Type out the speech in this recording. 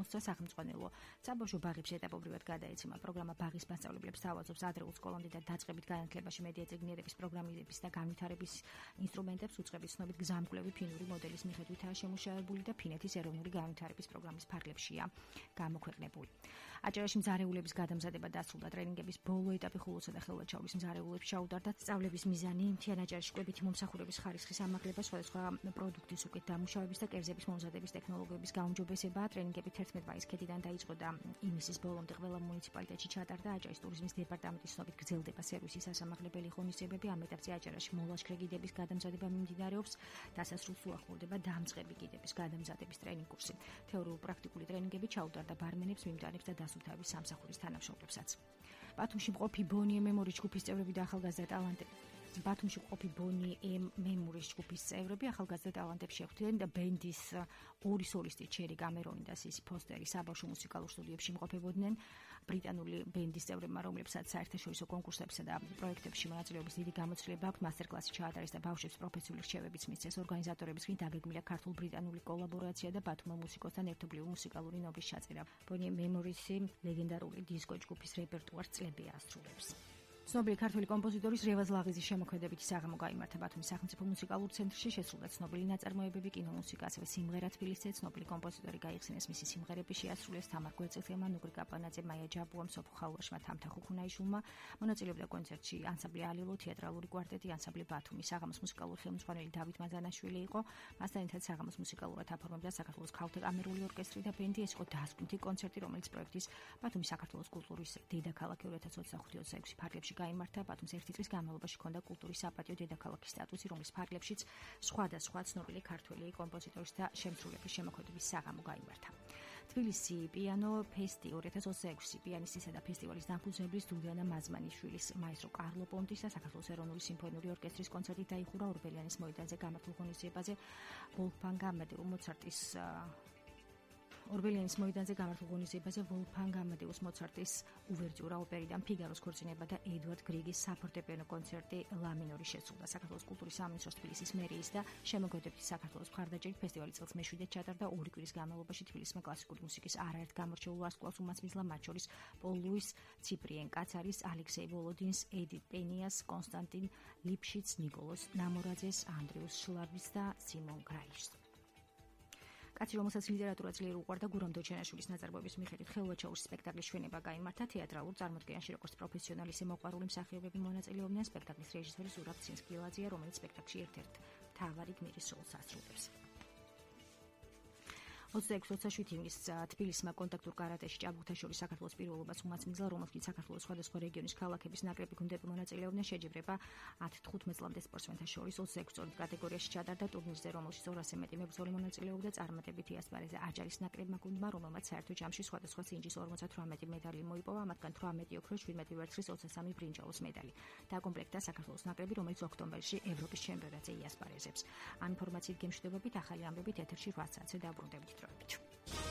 მოსწრა სახელმწიფო საბავშვო ბაღებში ეტაპობრივად გადაეცემა პროგრამა ბაღის მასწავლებლებს თავაზობს ადრეულ სკოლამდე და დაწყებით განათლებაში მედია წიგნიერების პროგრამირების და განვითარების ინსტრუმენტებს უწყების ცნობით გზამკვლევი ფინური მოდელის მიხედვითაა შემუშავებული და ფინეთის ეროვნული განვითარების პროგრამის ფარგლებშია გამოქვეყნებული. აჭარაში მზარეულების გადამზადება დასრულდა. ტრენინგების ბოლო ეტაპი ხულოსა და ხელვაჩაურის მზარეულებს ჩაუდარდა. სწავლების მიზანი მთიან აჭარაში კვებითი მომსახურების ხარისხის ამაღლება, სხვადასხვა პროდუქტის უკეთ დამუშავების და კერძების მომზადების ტექნოლოგიების გაუმჯობესება. ტრენინგები 11 მაისის ქედიდან დაიწყო და იმისის ბოლომდე ყველა მუნიციპალიტეტში ჩატარდა. აჭარის ტურიზმის დეპარტამენტის ცნობით გრძელდება სერვისის ასამაღლებელი ღონისძიებები. ამ ეტაპზე აჭარაში მოლაშქრე გიდების გადამზადება მიმდინარეობს. დასასრულს უახლოვდება დამწყები გიდების გადამზადების ტრენინგ კურსი. თეორიულ-პრაქტიკული ტრენინგები ჩაუტარდა ბარმენებს, მიმდევრებს და დასუფთავების სამსახურის თანამშრომლებსაც. ბათუმში მყოფი ბონი მემორის ჯგუფის წევრები და ახალგაზრდა ტალანტები ბათუმში მყოფი ბონი მემორის ჯგუფის წევრები ახალგაზრდა ტალანტებს შეხვდნენ და ბენდის ორი სოლისტი ჩერი გამერონი და სისი ფოსტერი საბავშვო მუსიკალურ სტუდიებში იმყოფებოდნენ. ბრიტანული ბენდის წევრებმა, რომლებსაც საერთაშორისო კონკურსებსა და პროექტებში მონაწილეობის დიდი გამოცდილება აქვთ, მასტერკლასი ჩაატარეს და ბავშვებს პროფესიული რჩევებიც მისცეს. ორგანიზატორების მხრიდან დაგეგმილია ქართულ-ბრიტანული კოლაბორაცია და ბათუმურ მუსიკოსთან ერთობლივი მუსიკალური ნობის ჩაწერა. ბონი მემორისი ლეგენდარული დისკო ჯგუფის რეპერტუარს წლები ასრულებს. ცნობილი ქართველი კომპოზიტორის რევაზ ლაღიზის შემოქმედებითი საღამო გაიმართა ბათუმის სახელმწიფო მუსიკალურ ცენტრში. შესრულდა ცნობილი ნაწარმოებები, კინომუსიკა, ასევე სიმღერა თბილისზე. ცნობილი კომპოზიტორი გაიხსენეს, მისი სიმღერები შეასრულეს თამარ გვეწელმა, ნუგრი კაპანაძე, მაია ჯაბუამ, სოფო ხალვაშმა, თამთა ხუხუნაიშვილმა. მონაწილეობდა კონცერტში ანსამბლი ალილო, თეატრალური კვარტეტი, ანსამბლი ბათუმი. საღამოს მუსიკალური ხელმძღვანელი დავით მაზანაშვილი იყო. მასთან ერთად საღამოს მუსიკალურად აფორმებდა საქართველოს ქალთა კამერული ორკესტრი და ბენდი. ეს იყო დაასკვნითი კონცერტი, რომელიც პროექტის ბათუმის საქართველოს კულტურის დედაქალაქი 2025-26 ფარგლებში გაიმართა. ბათუმს ერთი წლის განმავლობაში ჰქონდა კულტურის საპატიო დედაქალაქის სტატუსი, რომლის ფარგლებშიც სხვადასხვა ცნობილი ქართველი კომპოზიტორის და შემსრულებლის შემოქმედების საღამო გაიმართა. თბილისი პიანო ფესტი 2026 პიანისტისა და ფესტივალის დამფუძნებლის დუდანა მაზმანიშვილის, მაესტრო კარლო პონტის და საქართველოს ეროვნული სიმფონიური ორკესტრის კონცერტით დაიხურა ორბელიანის მოედანზე გამართულ ღონისძიებაზე ვოლფგანგ ამადეუ მოცარტის ორბელიანის მოედანზე გამართულ ღონისძიებაზე ვოლფგანგ ამადეუს მოცარტის უვერტიურა ოპერიდან ფიგაროს ქორწინება და ედვარდ გრიგის საფორტეპიანო კონცერტი ლა მინორი შესრულდა. საქართველოს კულტურის სამინისტროს თბილისის მერიის და შემოქმედებითი საქართველოს მხარდაჭერით ფესტივალი წელს მეშვიდედ ჩატარდა. ორი კვირის განმავლობაში თბილისმა კლასიკური მუსიკის არაერთ გამორჩეულ ვარსკვლავს უმასპინძლა, მათ შორის პოლ ლუის, ციპრიენ კაცარის, ალექსეი ვოლოდინს, ედიტ პენიას, კონსტანტინ ლიფშიც, ნიკოლოზ ნამორაძეს, ანდრიუს შლაბის და სიმონ გრაიშს. კაცი, რომელსაც ლიტერატურა ძლიერ უყვარდა, გურამ დოჩენაშვილის ნაწარმოების მიხედვით ხელვაჩაურის სპექტაკლის ჩვენება გაიმართა. თეატრალურ წარმოდგენაში როგორც პროფესიონალი ისე მოყვარული მსახიობები მონაწილეობდნენ. სპექტაკლის რეჟისორი ზურაბ ცინსკილაძეა, რომელიც სპექტაკლში ერთ-ერთ მთავარი გმირის როლს ასრულებს. 26-27 ივნისს თბილისმა კონტაქტურ კარატეში ჭაბუკთა შორის საქართველოს პირველობას უმასპინძლა, რომელშიც საქართველოს სხვადასხვა რეგიონის ქალაქების ნაკრები გუნდები მონაწილეობდნენ. შეჯიბრება 10-15 წლამდე სპორტსმენთა შორის 26 წონის კატეგორიაში ჩატარდა ტურნირზე, რომელშიც 200-ზე მეტი მებრძოლი მონაწილეობდა. წარმატებითი ასპარეზა აჭარის ნაკრებმა გუნდმა, რომელმაც საერთო ჯამში სხვადასხვა სინჯის 58 მედალი მოიპოვა, მათგან 18 ოქროს, 17 ვერცხლის, 23 ბრინჯაოს მედალი. დაკომპლექტდა საქართველოს ნაკრები, რომელიც ოქტომბერში ევროპის ჩემპიონატზე იასპარეზებს. ამ ინფორმაციით გემშვიდობებით ახალი ამბებით ეთერში 8 საათზე დაბრუნდებით.